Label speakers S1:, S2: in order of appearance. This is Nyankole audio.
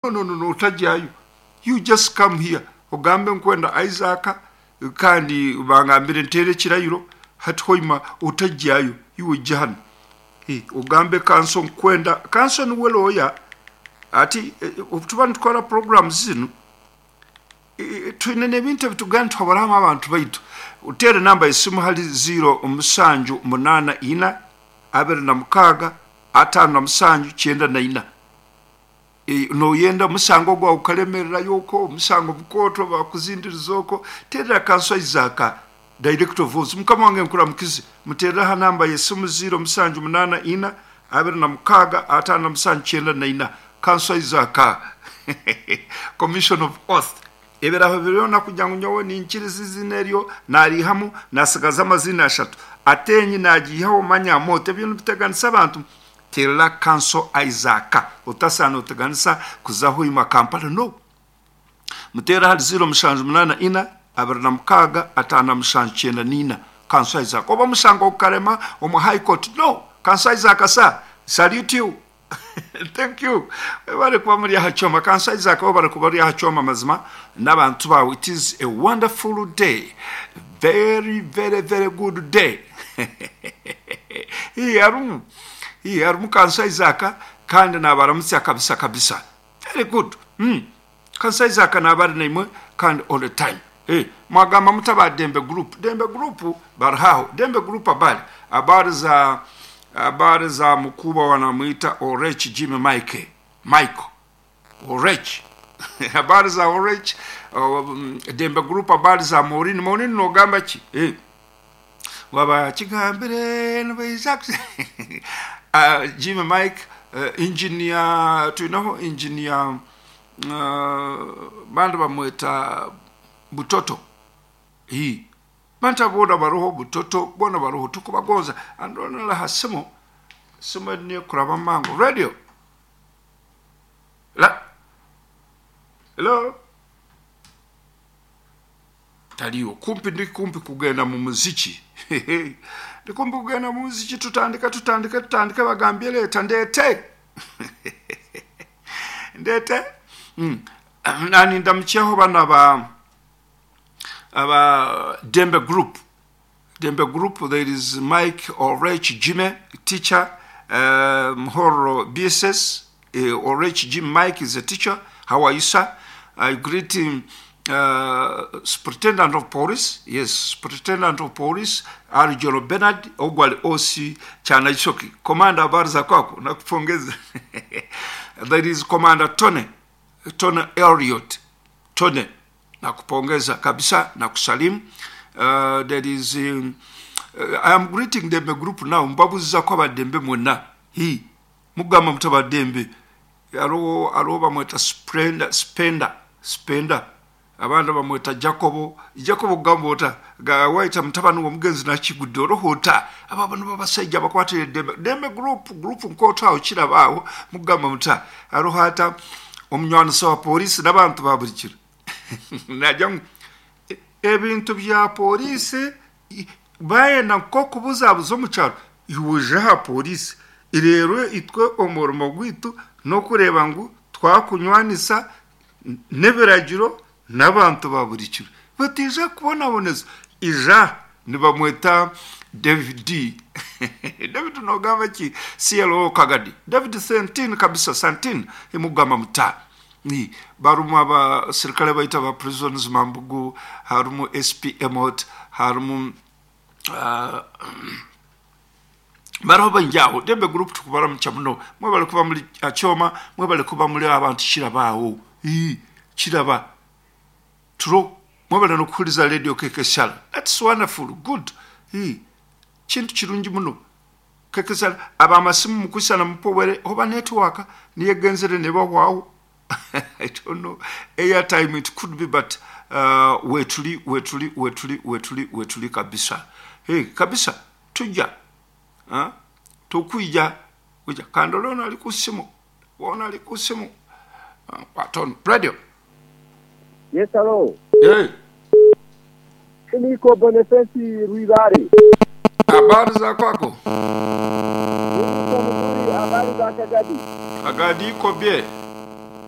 S1: No no no otagyayo you just come here ogambe nkwenda Isaac kandi bangambire nteere ekirayiro hati hoima otagyayo iwe ija hanu ogambe kanso nkwenda kanso niwe lawyer hati obutuba nitukora programs zinu twine n'ebintu ebitugamba nituhaburamu abantu baitu oteere namba y'esimu hali ziiro musanju munaana ina 26 57 94. Noyenda omusango gwawe gukaremererayo okwo, omusango mukooto bakuzindiriza okwo, terera Kanso Isaac, Director of Votes. Mukama wange nkuramukize. Muterere aha namba y'esimu ziiro musanju munaana ina, 26, 57 94. Kanso Isaac, Commission of Oath. Ebiraho byona kugira ngu nyowe ninkiriza eiziina eryo, nariihamu, nasigaza amaziina ashatu. Ateenyi nagiihaho, manya Amooti. Ebyo nibiteganisa abantu. Terera Kanso Isaac otasaana oteganisa kuza Hoima Kampala no. Muteere ahari 0784 26 57 94 Kanso Isaac oba omushango gukarema omu High Court no. Kanso Isaac sir salute you thank you webare kuba muri aha kyoma Kanso Isaac webare kuba ori aha kyoma mazima n'abantu baawe it is a wonderful day very very very good day. Hii harimu hii harimu Kanso Isaac kandi nabaramutsya kabisa kabisa. Very good. Mm. Kanso Isaac naba ari naimwe kandi all the time. Hey, mwagamba muta ba Dembe Group. Dembe Group bari haho. Dembe Group abari abari za abari za mukuba wanamwita Orech Jimmy Mike. Michael. Orech. Habari za Orech, Dembe Group habari za Maureen. Maureen nogamba ki? Eh. Waba kigambire nibaija uh, Jimmy Mike uh, engineer twinaho engineer uh, bandi bamweta Butoto. Hii. Bantu boona baroho Butoto boona baroho tukubagonza. Andonala ha simu simu niyo kuraba mangu radio. La. Hello. Taliyo. Kumpi ndi kumpi kugenda mu muziki. Ndi kumpi kugenda mu muziki tutandika tutandika tutandika bagambye leeta ndeete. Ndeete. Mm. Nani ndamukyeho bana ba aba Dembe Group. Dembe Group there is Mike Orech Jimmy teacher Mhoro BSS Orech Jim Mike is a teacher. How are you sir? I greet him Superintendent of Police, yes, Superintendent of Police Arjolo Bernard Ogwali OC Chanachoki. Commander habari za kwako nakupongeza. There is Commander Tony, Tony Elliot. Tony nakupongeza kabisa na kusalimu. There is I am greeting Dembe group now mbabuziza ko abadembe mwena. Hi mugamba muta badembe. Hariho hariho bamweta Sprenda Spenda Spenda abandi bamweta Jacobo Jacobo gamba ota waita mutabani w'omugenzi nakigudde oroho ota abo bano babasaija abakwatire Dembe Dembe group group nkooto aho kiraba aho mugamba muta hariho ata omunywanisa wa polisi n'abantu ba buri kiro nagira ngu ebintu bya polisi bayenda nk'okubuzabuza omu kyaro iwe oje aha polisi reero itwe omurimo gwaitu n'okureeba ngu twakunywanisa n'ebiragiro n'abantu ba buri kiro bataija kukubonabonesa ija nibamweta David David nogamba ki CLO Kagadi David Sentini kabisa Santini emugamba muta barimu abasirikare baitu aba prisons Mambugu harimu SP Emot harimu bariho baingi aho Dembe group tukubaramukya muno mwebale kuba muri Akyoma mwebale kuba muri abantu kiraba aho kiraba turo mwebale n'okuhuriza radio KKSR that's wonderful good kintu kirungi muno KKSR abamasimu mukusana mupowere oba network niyo egenzere nebahwaho I don't know airtime it could be but wetuli wetuli wetuli wetuli wetuli kabisa hey, kabisa tujja huh? Tukwija kuja kandole ono ali ku simu ono ali ku simu uh, radio
S2: Yes, hello.
S1: Hey.
S2: Niko Boniface Rwibare.
S1: Habari za kwako?
S2: Niko mzuri, habari za Kagadi.
S1: Kagadi iko bie.